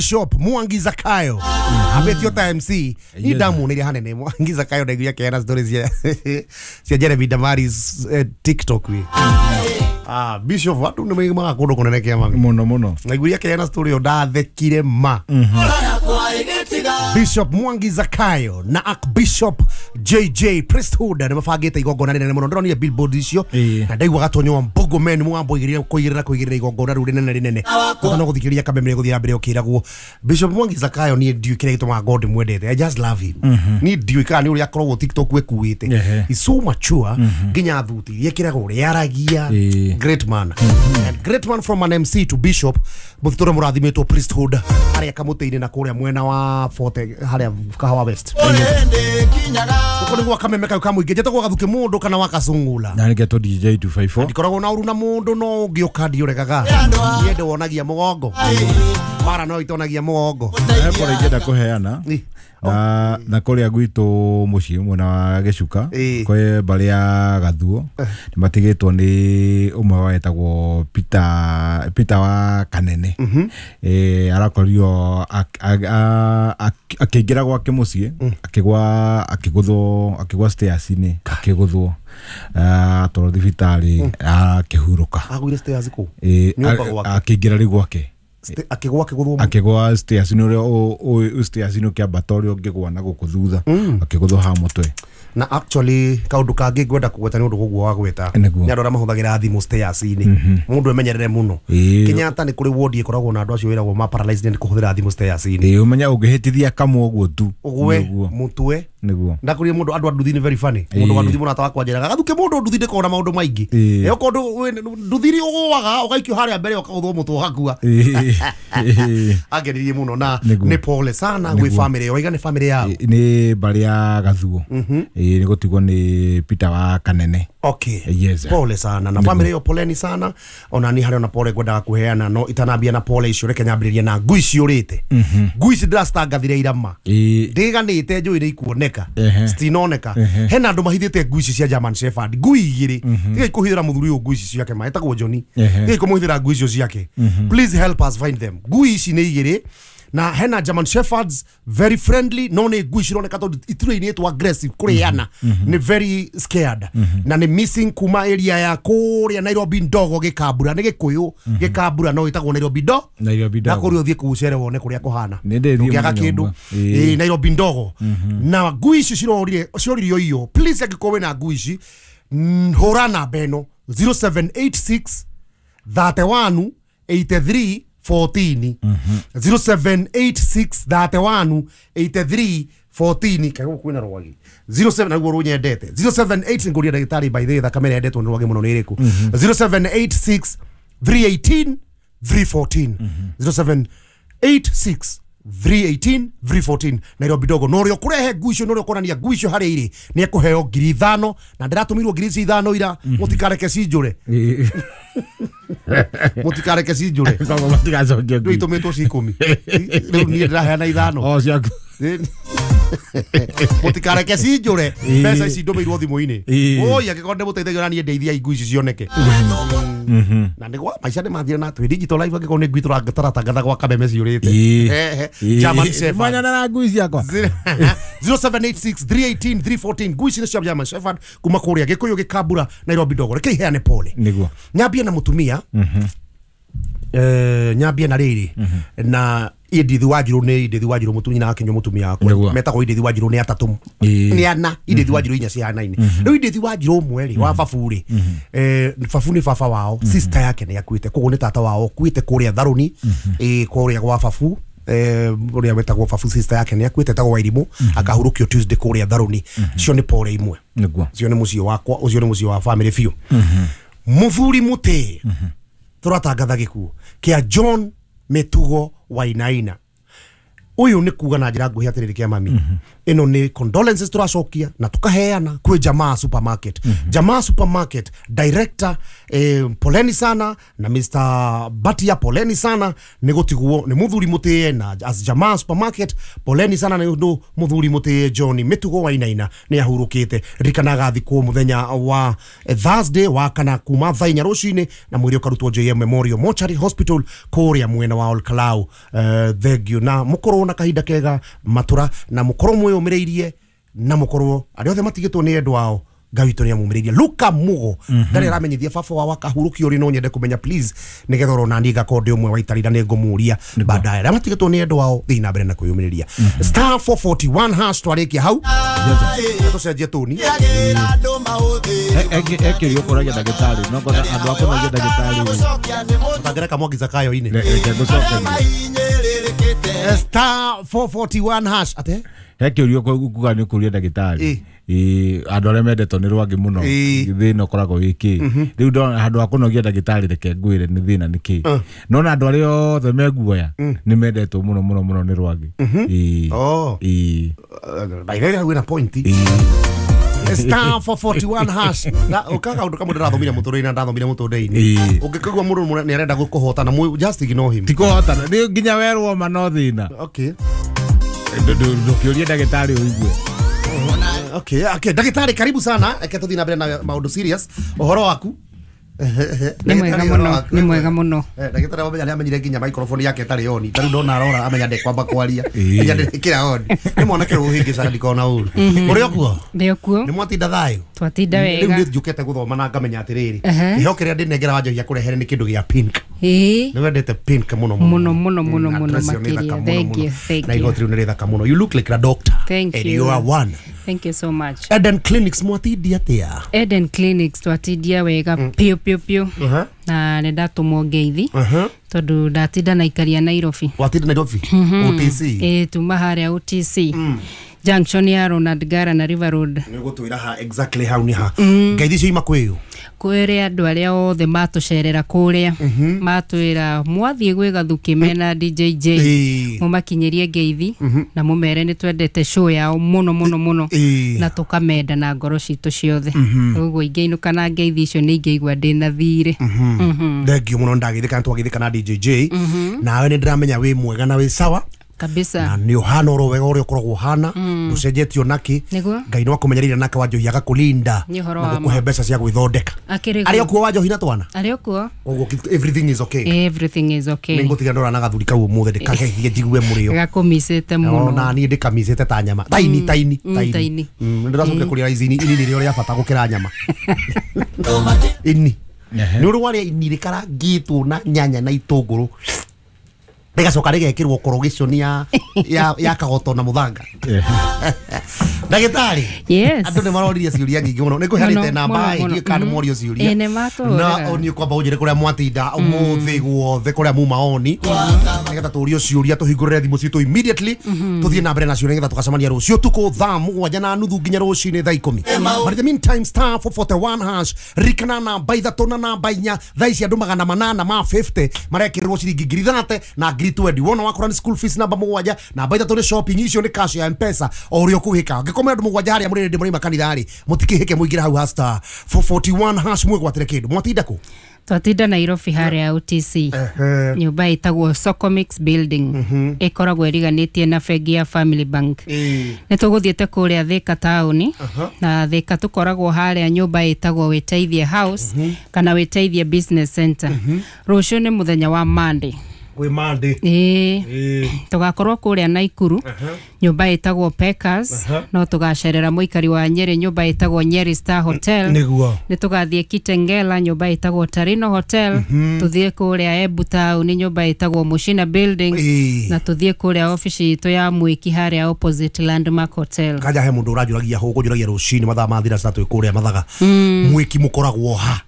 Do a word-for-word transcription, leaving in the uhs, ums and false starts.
Bishop Mwangi Zakayo abetio ta M C ni ndamuonire hanene Mwangi Zakayo ndaiguire akiheana stories cia cia Jeremy Damaris eh, TikTok wi ah Bishop andu ni maimaga kundu kunene kia mami muno muno ndaiguire akiheana story yo ndathekire ma. Bishop Mwangi Zakayo na Archbishop J J Priesthood ni mabangite igongona rinene muno ndironire billboard icio na ndaigua gatonyo wa Mbogo men mugambo igirire kuigirira kuigirira igongona riu rinene rinene no guthikiria kameme guthira mbere ukiragwo Bishop Mwangi Zakayo ni ndiu kire gitumaga God mwendete. I just love him. Ni ndiu kana ni uria akoragwo TikTok wekuite. He's so mature nginya thuti yekiraga uria aragia. Great man. And great man from an M C to Bishop muthitore murathimitwo Priesthood aria kamutini na kuria mwena wa Forte haria Kahawa West. Uko niguo kameme kau kamuingi njetagwo gathuki mundu kana wakacungula na niketo D J two five four ndikoragwo na uru na mundu no ngiuka ndiuregaga nie ndiwonagia mugongo mara no itonagia mugongo pore ingĩenda kuheana na na kuria gwitu muciĩ mwena wa Gĩcuka kwe mbarĩ ya Gathuo nĩ matigĩtwo nĩ ũmwe wetagwo Peter Peter wa Kanene eh arakorirwo akĩingĩra gwake mũciĩ akĩgwa akĩgũthwo akĩgwa stairs-inĩ akĩgũthwo atwarwo thibitarĩ akĩhurũka. Agũire stairs kũ? Akĩingĩra rĩu gwake akigwa akiguthwo akigwa stairs ni uria u stairs ni ukiambata uria ungigwa na guku thutha akiguthwo ha mutwe. Na actually kaundu kangi ngwenda kugweta ni undu guguo wa gweta ni andu aria mahuthagira thimu stairs ini mundu emenyerere muno. Kenyatta ni kuri ward ikoragwo na andu acio wiragwo ma paralyzed ni kuhuthira thimu stairs ini. Ĩ umenya ungihitithia kamwe uguo tu ugwe mutwe niguo ndakurie mundu andu anduthi ni very funny mundu wa nduthi murata wakwa njiraga gathuke mundu nduthi ndikona maundu maingi ĩ okondu nduthiri ugwaga ugaikio haria mbere ukaguthwo mutwe ugakua. Ageririe muno na ni pole sana gwi family yo iga ni family yao ni mbari ya Gathuo ĩ ni gutigwo ni Peter wa Kanene. Okay. Yes. Pole sana na family yo poleni sana ona ni hari ona pole ngwendaga kuheana no itanambia na pole icio reke nyambiririe na ngui ciurite ngui ici ndiracitangathire irama ndiganite njui ni ikuoneka citinoneka hena andu mahithite ngui ici cia German Shepherd ngui igiri tiga ikuhithira muthuri uyu ngui ici ciake ma etagwo Johnny tiga ikumuhithira ngui icio ciake. Please help us find them. Ngui ici ni igiri na hena German Shepherds very friendly no ni ngui cironeka tondu itirainĩtwo aggressive kuriana ni very scared na ni missing kuma area ya kuria Nairobi ndogo gikambura ni gikuyu gikambura no itagwo Nairobi ndo Nairobi ndogo na kuria uthie kucere wone kuria kuhana ndungiaga kindu eh Nairobi ndogo na ngui ici cirorire cioririo iyo please angĩkorwo wĩna ngui ici hũra namba ĩno zero seven eight six thirty one eighty three fourteen zero seven eight six thirty one eighty three fourteen kago kwina rwagi zero seven naguo runyendete zero seven eight nguria ndagitari by the way thakame yendetwo ni rwagi muno ni iriku zero seven eight six three eighteen three fourteen zero seven eight six three eighteen three fourteen Nairobi dogo no rio kurehe ngui icio no rio kuonania ngui icio hari iri ni ekuheo ngiri ithano na ndiratumirwo ngiri ici ithano ira mutikareke cinjure mutikareke cinjure koguo matigacokia ngui itumitwo ci ikumi riu nie ndiraheana ithano o ciaku mutikareke cinjure mbeca ici ndumirwo thimu-ini oi angikorwo ndimuteithagia ona nie ndeithia ngui ici cioneke na niguo maica ni mathire na twi digital life angikorwo ni ngui tũratangatha gwa kameme ciurite German Shepherd manyana na ngui ciakwa zero seven eight six three eighteen three fourteen ngui ici nĩ cia German Shepherd kuma kuria Gikuyu gikambura Nairobi ndogo reke iheane pole niguo nyambie na mutumia eh nyambie na riri na Edith Wanjiru ni Edith Wanjiru mutumia na akinyo mutumia wakwa metagwo Edith Wanjiru ni atatu ni ana Edith Wanjiru inya cihanaine riu Edith Wanjiru umwe ri wa babu ri eh babu ni baba wao sister yake ni akuite koguo ni tata wao kuite kuria Tharuni eh kuria gwa babu eh uria wetagwo babu sister yake ni akuite tagwo Wairimu akahurukio Tuesday kuria Tharuni cio ni pore imwe niguo cio ni muciĩ wakwa ucio ni muciĩ wa family biũ muthuri muti turatangatha gikuo kia John Mitugo Wainaina Uyu ni kuga na njira nguhi atiriri kia mami. Ino ni condolences turacokia na tukaheana kwi Jamaa Supermarket. Jamaa Supermarket director eh, poleni sana na Mister Batia poleni sana ni gutiguo ni muthuri mutie na as Jamaa Supermarket poleni sana ni undu muthuri mutie John Mitugo Wainaina ni ahurukite rikanaga thikwo muthenya wa Thursday wa kana kuma thaa inya rucini na mwiri ukarutwo J M Memorial Mortuary Hospital kuria mwena wa Olkalau. Uh, thank you na mukorwo na kahinda kega matura na mukorwo mwiyumireirie na mukorwo aria othe matigitwo ni endwa ao Ngai witũ nĩ amumĩrĩirie. Luka Mugo ndarĩ aramenyithia baba wa wakahurũkio rĩ, no nyende kũmenya please nĩgetha orona niĩ ngakorwo ndĩ ũmwe wa itarĩ na nĩngũmũria baadaye. Arĩa matigĩtwo nĩ endwa ao thiĩ na mbere na kwĩyũmĩrĩria. Star four forty-one hash twarĩkia hau tũcenjie tũni ekĩrio ũkoragia ndagĩtarĩ no ngona andũ akũnogia ndagĩtarĩ ũtangĩreka Mwangi Zakayo-inĩ Star four forty-one hash ate hekĩrio kuga nĩ ũkũria ndagĩtarĩ andũ arĩa mendetwo nĩ rwangĩ mũno thĩna ũkoragwo wĩ kĩ rĩu ndona handũ ha kũnogia ndagĩtarĩ reke ngwĩre nĩ thĩna nĩ kĩ nona andũ arĩa othe meguoya nĩ mendetwo mũno mũno mũno nĩ rwangĩ. By the way wĩna point Star four forty-one hash na ukaga undu kamwe ndirathomire muturire na ndathomire muturire-ini ungikigua mundu ni arenda gukuhotana just ignore him. Ti kuhotana ni nginya werwo ma no thina. Okay ndukiurie ndagĩtarĩ ũigue. Okay, okay, ndagĩtarĩ karibu sana eke tuthi na mbere na maundu serious uhoro waku. Nĩ mwega mũno, nĩ mwega mũno. Ndagĩtarĩ wamenya nĩ amenyire nginya microphone yake ĩtarĩ on ta rĩu ndona arora amenya ndekwamba kwaria amenya ndekĩra on nĩ mwanake ũhĩngĩcaga ndikona ũru. Ũrĩ okuo? Ndĩ okuo. Nĩ mwatinda thayũ? Twatinda wega. Rĩu nĩ njũkĩte gũthoma na ngamenya atĩrĩrĩ kĩheo kĩrĩa ndĩnengera Wanjohia kũrehere nĩ kĩndũ gĩa pink. Nĩ wendete pink mũno mũno mũno mũno mũno makĩria. Thank you, thank you. Na igoti rĩu nĩ rĩthaka mũno. You look like a doctor. Thank and you. You are one. Thank you so much. Eden Clinics mwatindia atia? Eden Clinics twatindia wega piũ piũ piũ. Na nĩ ndatũmwo ngeithi tondu ndatinda na ikaria Nairobi. Watinda Nairobi? O T C? Eh, tuma haria O T C. Junction ya Ronald Gara na River Road. Nĩ gũtwĩra ha exactly hau nĩ ha. Ngeithi icio ima kwĩũ? Kwĩrĩ andũ arĩa othe matũcerera kũrĩa matwĩra mwathiĩ gwĩ Gathuki mena D J J mũmakinyĩrie ngeithi na mũmere nĩ twendete show yao mũno mũno mũno na tũkamenda na ngoro citũ ciothe. Ũguo ingĩinũka na ngeithi icio nĩ ingĩigua ndĩna thirĩ. Thank you mũno ndagĩthĩka twagĩthĩka na D J J. Nawe nĩ ndĩramenya wĩ mwega na wĩ sawa kabisa na nĩ ũhana oro wega ũrĩa ũkoragwo ũhana ũcenjetio naki Ngai no akũmenyereire nake Wanjohi agakũlinda na gũkũhe mbeca cia gwĩthondeka. Arĩ okuo Wanjohi na twana? Arĩ okuo. Koguo everything is okay. Everything is okay. Nĩ ngũtiga ndora na gathuri kau ũmũthĩ ndĩkageithie njigue mũrĩo. Gakũmicĩte mũno. Na niĩ ndĩkamicĩte ta nyama. Taini taini taini. Nĩ ndĩracokire kũrĩa ici ini nĩrĩo rĩa bata gũkĩra nyama. Ini. Nĩ ũrĩ warĩa ini rĩkarangĩtwo na nyanya na itũngũrũ rĩgacoka rĩgekĩrwo korogiconi ya ya ya kagoto na mũthanga. Ndagĩtarĩ, yes, andũ nĩ maroririe ciũria nyingĩ mũno nĩ ngũheanĩte namba ĩngĩ kana morio ciũria na niĩ kwamba ũnjĩre kũrĩa mwatinda ũmũthĩ guothe kũrĩa muma oni nĩgetha tũrio ciũria tũhingũrĩre thimũ citũ immediately tũthiĩ na mbere na ciũria nĩgetha tũgacemania rũciũ ũtukũ thaa mũgwanja na nuthu nginya rũcinĩ thaa ikũmi. But in the meantime star four forty-one hash rikana namba ithatũ na namba inya thaa ici andũ magana manana ma fifty marekĩrĩrwo ciringi ngiri thate na ngiri twenty wona wakora nĩ school fees namba mũgwanja namba ithatũ nĩ shopping icio nĩ cash ya M-Pesa o ũrĩa ũkũhĩka ngĩkomera andũ mũgwanja harĩa mũrĩ ndĩ mũrĩ makanitha rĩ mũtikĩhĩke mũingĩre hau ha star four forty-one hash mwĩgwatĩre kĩndũ. Mwatinda kũ? Twatinda Nairobi harĩa O T C nyũmba ĩtagwo Socomix Building ĩkoragwo ĩriganĩtie na bengi ya Family Bank. Nĩ tũgũthiĩte kũrĩa Thika taũni na Thika tũkoragwo harĩa nyũmba ĩtagwo Wĩteithie House kana Wĩteithie Business Center. Rũciũ nĩ mũthenya wa Monday. Kwĩ Monday. Ĩĩ tũgakorwo kũrĩa Naikuru nyũmba ĩtagwo Peckers no tũgacerera mũikari wa Nyeri nyũmba ĩtagwo Nyeri Star Hotel. Nĩguo. Nĩ tũgathiĩ Kitengela nyũmba ĩtagwo Tarino Hotel, tũthiĩ kũrĩa Embu taũni nyũmba ĩtagwo Mushina Building na tũthiĩ kũrĩa ofici itũ ya Mwiki harĩa opposite Landmark Hotel. Kanja he mũndũ ũranjũragia hũkũnjũragia rũcinĩ mathaa ma thinacara twĩ kũrĩa Mathaga. Mwiki mũkoragwo ha?